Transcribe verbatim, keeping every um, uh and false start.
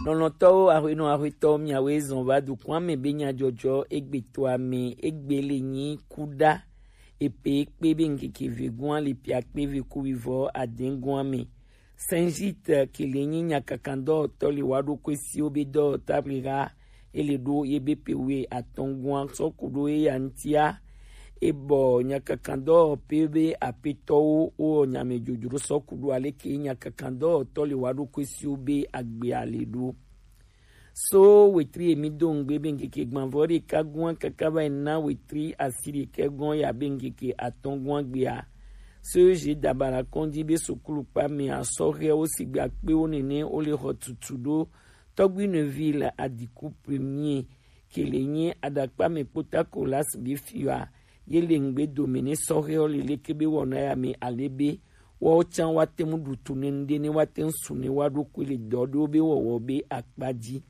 Lɔlɔ̃tɔwo, aƒenɔ aƒetɔwo, miawoe zɔn va dukɔa me be nyadzɔdzɔ egbetɔa me egbe le nyi kuɖa. Epe kpe be ŋkeke vegoa le pia kpe ve ku vivɔ adɛgoa me. Saint Gite ke le nyi nyakakandɔwɔtɔ le wa ɖo kue siwo be dɔwɔta ble ha ele ɖo ye be pe we atɔ̃goa sɔ ku ɖo eya ŋtia. Ebɔ nyakakandɔwɔpe be apetɔwo wo nyame dzodzro sɔ ku ɖo aleke nyakakandɔwɔtɔ le wa ɖo kue siwo be agbea le ɖo. So wetri emi do ŋgbe be ŋkeke gbanvɔ ɖeka gɔa kaka va yi na wetri asi ɖeka gɔa ya be ŋkeke atɔ̃goa gbea. So zi dabara kɔndi be sukulu kpa me asɔhɛwo sigbe akpewo nene wo le xɔ tutu ɖo Tɔgbi Neville Adiku Premier ke le nyi aɖakpa me kpota Kolas be fiwa ye le ŋgbe dome ne sɔhɛwo le leke be wɔna ya me ale be wɔwo can wa te ŋu ɖutu ne ŋɖe ne wa te ŋu su ne wa ɖokui le dɔ ɖewo be wɔwɔ be akpa dzi.